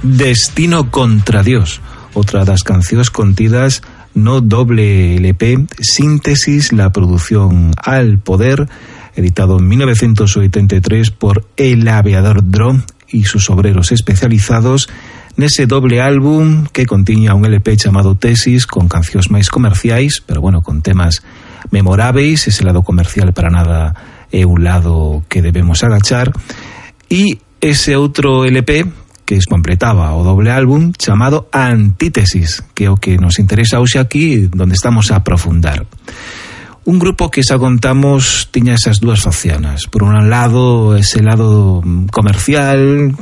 Destino contra Dios, outra das cancións contidas no doble LP Síntesis, la producción al poder, editado en 1983 por El Aviador Dro y sus obreros especializados, nese doble álbum que contiña un LP chamado Tesis, con cancións máis comerciais, pero bueno, con temas memoráveis. Ese lado comercial para nada é un lado que debemos agachar, e ese outro LP que completaba o doble álbum chamado Antítesis, que é o que nos interesa hoxe aquí, donde estamos a aprofundar. Un grupo que, xa contamos, tiña esas dúas facianas. Por un lado, ese lado comercial,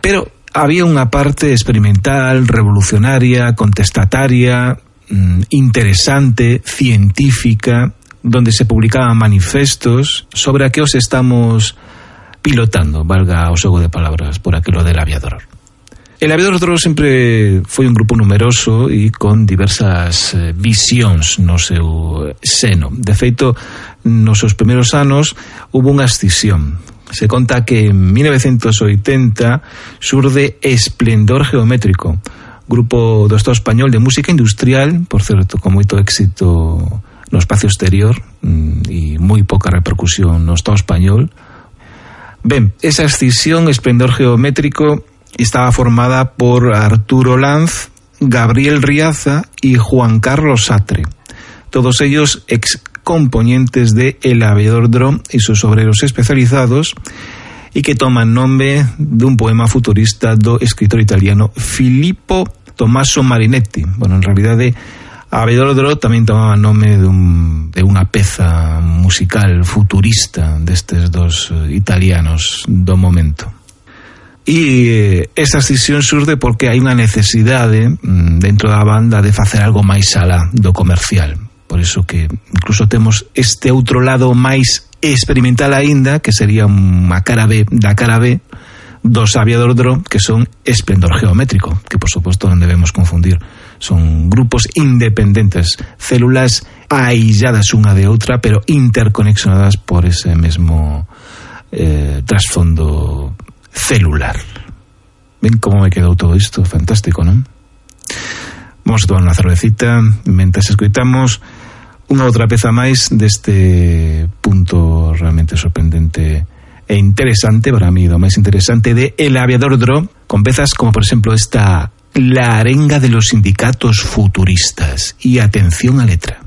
pero había unha parte experimental, revolucionaria, contestataria, interesante, científica, donde se publicaban manifestos sobre a que os estamos pilotando, valga o xogo de palabras, por aquilo del Aviador. El Aviador Dro sempre foi un grupo numeroso e con diversas visións no seu seno. De feito, nos seus primeiros anos hubo unha escisión. Se conta que en 1980 surde Esplendor Geométrico, grupo do Estado español de música industrial, por certo, con moito éxito no espacio exterior e moi poca repercusión no Estado español. Ben, esa escisión, Esplendor Geométrico, estaba formada por Arturo Lanz, Gabriel Riaza y Juan Carlos Satre, todos ellos excomponentes de El Aviador Dro y sus obreros especializados, y que toman nombre de un poema futurista do escritor italiano Filippo Tommaso Marinetti. Bueno, en realidade, Aviador Dro tamén tomaba nome de unha peza musical futurista destes dos italianos do momento. E esa escisión surde porque hai unha necesidade dentro da banda de facer algo máis alá do comercial. Por iso que incluso temos este outro lado máis experimental aínda, que sería unha cara B da cara B dos Aviador Dro, que son Esplendor Geométrico, que por suposto non debemos confundir. Son grupos independentes, células ailladas unha de outra, pero interconexionadas por ese mesmo trasfondo celular. Ven como me quedou todo isto, fantástico, non? Vamos a tomar unha cervecita mentres escoitamos unha outra peza máis deste punto realmente sorprendente e interesante, para mí, lo máis interesante de El Aviador Dro, con pezas como, por exemplo, esta La arenga de los sindicatos futuristas. Y atención a letra.